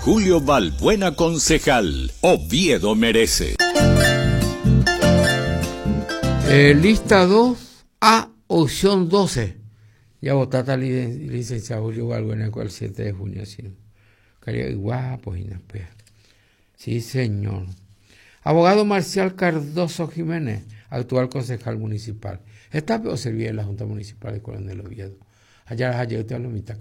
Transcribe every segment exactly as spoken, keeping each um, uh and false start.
Julio Balbuena concejal. Oviedo merece. Eh, lista dos A, opción doce. Ya votaste licenciado Julio Balbuena el siete de junio. Sí. Guapo, sí, señor. Abogado Marcial Cardoso Jiménez, actual concejal municipal. Esta o servía en la Junta Municipal de Coronel Oviedo. Allá allá usted lo mitad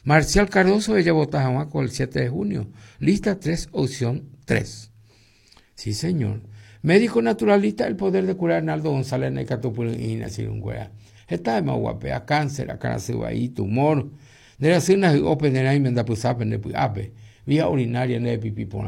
Marcial Cardoso, ella vota con el siete de junio. Lista tres, opción tres. Sí, señor. Médico naturalista, el poder de curar Arnaldo González Necatupulina, Esta es más guapea, cáncer, ahí, tumor. De la cena open de ape. Vía urinaria, ne pipí por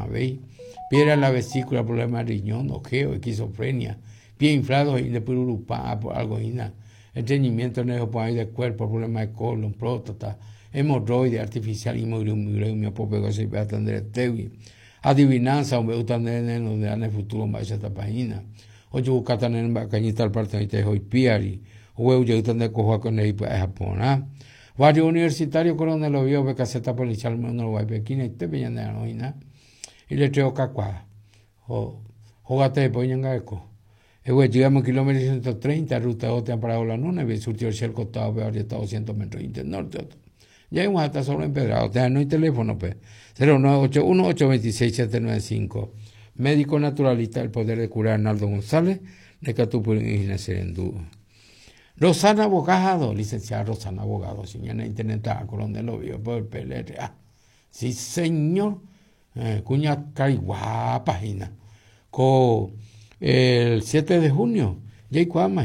piedra en la vesícula, problema de riñón, ojeo, esquizofrenia, pie inflado y de pururupá, algo ina. Estreñimiento del cuerpo, problema de colon, próstata, hemorroide artificial y adivinanza, hombre, donde en el futuro va a esta página. Oye, buscatan en cañita al parte de hoy piari, o yo de cojo con el Japón. Barrio Universitario Coronel Oviedo, caseta policial, no lo y te peña y le traigo cacua. O jogate de poñanga eco. E llegamos kilómetro ciento treinta, ruta dos, te han parado la nuna, y surtió el costado, pero ahora está doscientos metros norte. Ya hemos hasta solo empedrado, o sea, no hay teléfono, pues. cero nueve ocho uno, ocho veintiséis, siete nueve cinco. Médico naturalista, el poder de curar Arnaldo González, de Catupurín y Serendú. Rosana Abogado, licenciada Rosana Abogado, señora internet, a Coronel Oviedo, por el P L R A. Sí, señor. Eh, cuña cariguá, página. Co el siete de junio, ya